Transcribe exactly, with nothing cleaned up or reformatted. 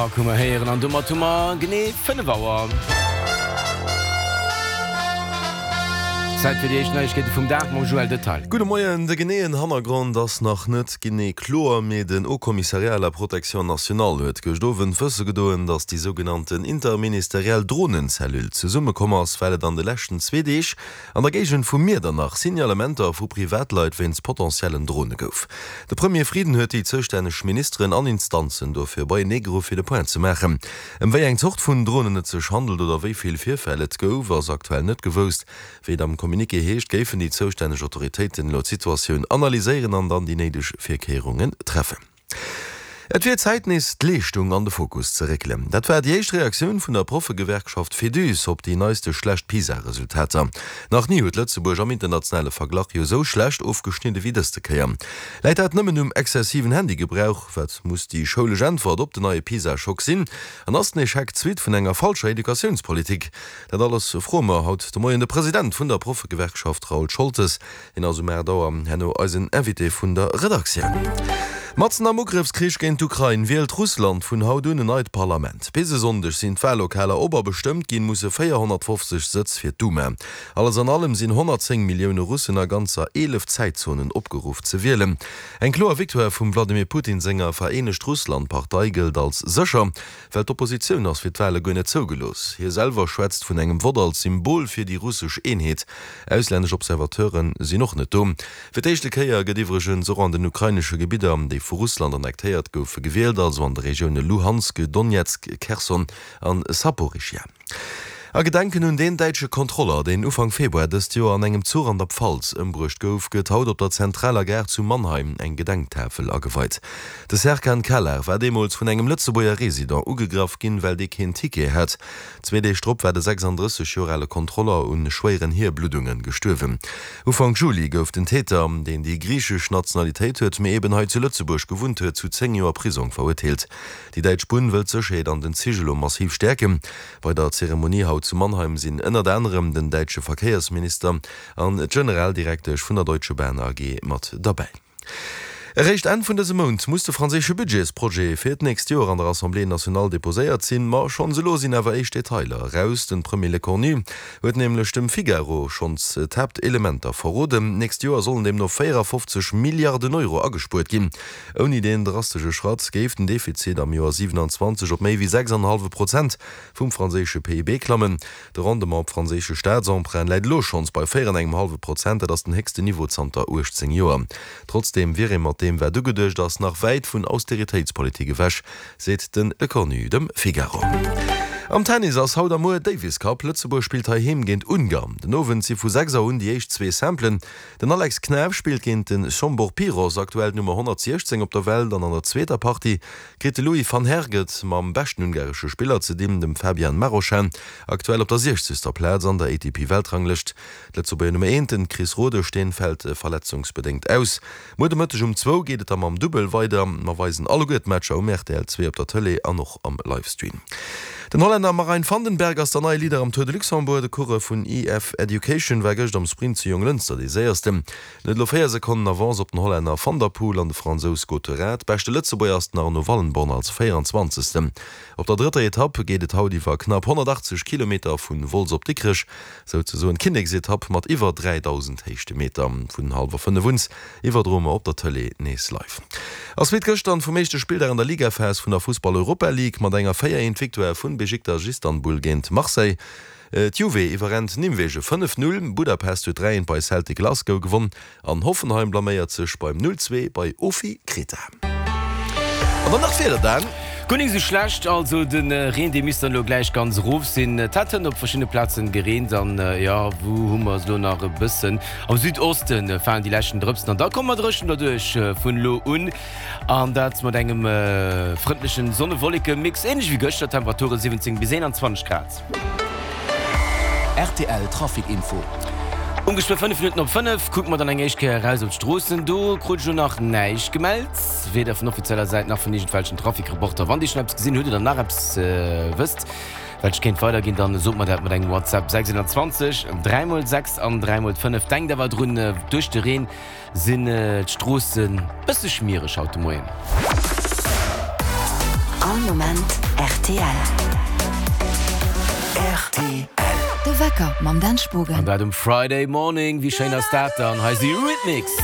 Park hu mer héieren an domat hu mer genee fënnef Auer. Zäit fir déi éischt Neiegkeete vum Dag mam Joël Detaille. Gudde Moien. De geneeën Hannergrond ass nach net genee kloer, mee den Haut Commissariat à la Protection nationale huet gëscht Owend wësse gedoen, datt déi sougenannten interministeriell Dronencellule zesummekomm ass, well et an de leschten zwee Deeg an der Géigend vu Miedernach Signalementer vu Privatleit wéinst potentiellen Drone gouf. De Premier Frieden huet déi zoustänneg Ministeren an Instanzen dofir beienee geruff fir de Point ze maachen. Ëm wéi eng Zort vun Dronen et sech handelt oder wéi vill Virfäll et gouf, ass aktuell net gewousst. Wéi et am Communiqué heescht, géifen déi zoustänneg Autoritéiten elo d'Situatioun analyséieren an dann déi néideg Virkéierungen treffen. Et wier Zäit nees d'Leeschtung an de Fokus ze réckelen. Dat war déi éischt Reaktioun vun der Proffegewerkschaft Féduse op déi neiste schlecht PISA-Resultater. Nach ni huet Lëtzebuerg am internationale Verglach jo esou schlecht ofgeschnidde wéi dëste Kéier. Läit dat nëmmen um exzessiven Handygebrauch? Wat muss déi schoulesch Äntwert op den neie PISA-Schock sinn? An ass den Echec d'Suite vun enger falscher Educatiounspolitik? Dat alles froe mer haut de Moien de President vun der Proffegewerkschaft Raoul Scholtes. Hien ass um aacht Auer herno eisen Invité vun der Redaktioun. Matzen am Ugrëffskrich géint d'Ukrain wielt Russland vun haut un en neit Parlament. Bis e Sonndeg sinn d'Wallokaler op a bestëmmt ginn musse véierhonnertfofzeg Sëtz fir d'Duma. Alles an allem sinn honnertzéng Millioune Russen a ganzer eelef Zäitzonen opgeruff ze wielen. Eng kloer Victoire vum Wladimir Putin senger Vereenegt Russland-Partei gëllt als sécher, well d'Oppositioun ass fir d'Wale guer net zougelooss. Hie selwer schwätzt vun engem Vott als Symbol fir déi russesch Eenheet. Auslännesch Observateure sinn och net do. Fir d'éischte Kéier gëtt iwwregens och an den ukrainesche Gebidder, déi vu Russland annektéiert goufe, gewielt, also an de Regioune Luhansk, Donezk, Kherson an Saporischschja. A Gedenken un deen däitsche Kontroller, deen Ufank Februar dëst Joer an engem Zuch an der Pfalz ëmbruecht gouf, gëtt haut op der zentraler Gare zu Mannheim eng Gedenktafel ageweit. De Serkan Calar war deemools vun engem Lëtzebuerger Resident ugegraff ginn, well dee keen Ticket hat. Zwee Deeg drop war de sechsanddrësseg Joer ale Kontroller un schwéieren Hierbluddunge gestuerwen. Ufank Juli gouf den Täter, deen déi griichesch Nationalitéit huet, mee eben hei zu Lëtzebuerg gewunnt huet, zu zéng Joer Prisong verurteelt. Déi däitsch Bunn wëll d'Sécherheet an den Zich elo massiv stäerken. Bei der Zeremonie haut zu Mannheim sinn ënnert anerem den däitsche Verkéiersminister an d'Generaldirektesch vun der Deutsche Bahn A G mat derbäi. Eréischt Enn vun dësem Mount muss de franséische Budgetsprojet fir d'nächst Joer an der Assemblée nationale deposéiert sinn. Ma schonns elo sinn awer éischt Detailer eraus. Den Premier Lecornu huet nämlech dem Figaro schonns d'Haaptelementer verroden. D'nächst Joer sollen deemno véierafofzeg Milliarden Euro agespuert ginn. Ouni deen drastesche Schratt géif den Defizit am Joer siewenanzwanzeg op méi wéi sechs an e hallwe Prozent vum franséische P I B klammen. De Rendement op franséische Staatsemprunten läit elo schonns bei véier an engem hallwe Prozent, dat ass den héchsten Niveau zanter uechtzéng Joer. Trotzdeem wier ee mat deem wat ugeduecht ass, nach wäit vun Austeritéitspolitik ewech, seet de Lecornu dem Figaro. Am Tennis ass haut a muer Davis Cup. Lëtzebuerg spillt heiheem géint Ungarn. Den Owend si vu sechs Auer un déi éischt zwee Simplen. Den Alex Knaff spillt géint de Zsombor Piros, aktuell d'Nummer honnertsiechzéng op der Welt, an an der zweeter Partie kritt de Louis van Herck et mam beschten ungaresche Spiller ze dinn, dem Fabian Marozsan, aktuell op der siechzegster Plaz an der A T P-Weltranglëscht. D'Lëtzebuerger Nummer eent, den Chris Rodesch, fält verletzungsbedéngt aus. Muer de Mëtteg um zwou geet et da mam Dubbel weider. Mer weisen alleguer d'Matcher um R T L zwee op der Tëlee an och am Livestream. Den Hollänner Marijn Vandenberg ass der neie Leader am Tour de Luxembourg. De Coureur vun E F Education war gëscht am Sprint zu Jonglënster dee séiersten. En huet elo véier Sekonnen Avance op den Hollänner Van der Poel an de Fransous Gautheret. Beschte Lëtzebuerger ass den Arno Wallenborn als véieranzwanzegsten. Op der drëtter Etapp geet et haut iwwer knapp honnertachtzeg Kilometer vu Wolz op Dikrech, souzesoen d'Kinneksetapp mat iwwer dräidausend Héichtemeter. Vun hallwer fënnef un iwwerdroe mer op der Tëlee nees live. Ass wéi gëschter vum éischte Spilldag an der Ligaphas vun der Fussball Europa League mat enger véier eent Victoire vun Besiktas Istanbul géint Marseille. D'Juve iwwerrennt Nimwegen fënnef null, Budapest huet dräi eent bei Celtic Glasgow gewonnen an Hoffenheim blaméiert sech beim null zwee bei Ofi Kreta. An dann nach d'Wieder, Dan. Guer nik sou schlecht, also de Reen dee misst dann elo gläich ganz erof sinn. Et hat hënt op verschiddene Plazen gereent an jo, wou hu mer se elo nach e bëssen? Am Südoste falen déi leschten Drëpsen an da komme mer dréchen derduerch vun elo un an dat mat engem frëndlechen Sonne-Wolleke-Mix, ähnlech wéi gëschter. Temperature siwwenzéng bis eenanzwanzeg Grad. R T L Trafic Info. Um geschwë fënnef Minutten op fënnef kucke mer dann eng éischt Kéier eraus op d'Stroossen. Do krut ech elo nach näischt gemellt, weder vun offizieller Säit nach vun iergendwelchen Trafic-Reporter. Wann Dir schonn eppes gesinn hutt oder nach eppes wësst, wat ech kéint weiderginn, dann sot mer dat mat engem WhatsApp, sechshonnertzwanzeg, dräi mol sechs an dräi mol fënnef. Denkt awer drun, duerch de Reen sinn d'Stroossen bësse schmiereg haut de Moien. All Moment rtl. Rtl. De Wecker mam Dan Spogen. An dat um Friday Morning, wéi schéin ass dat dann? Hei si Eurythmics.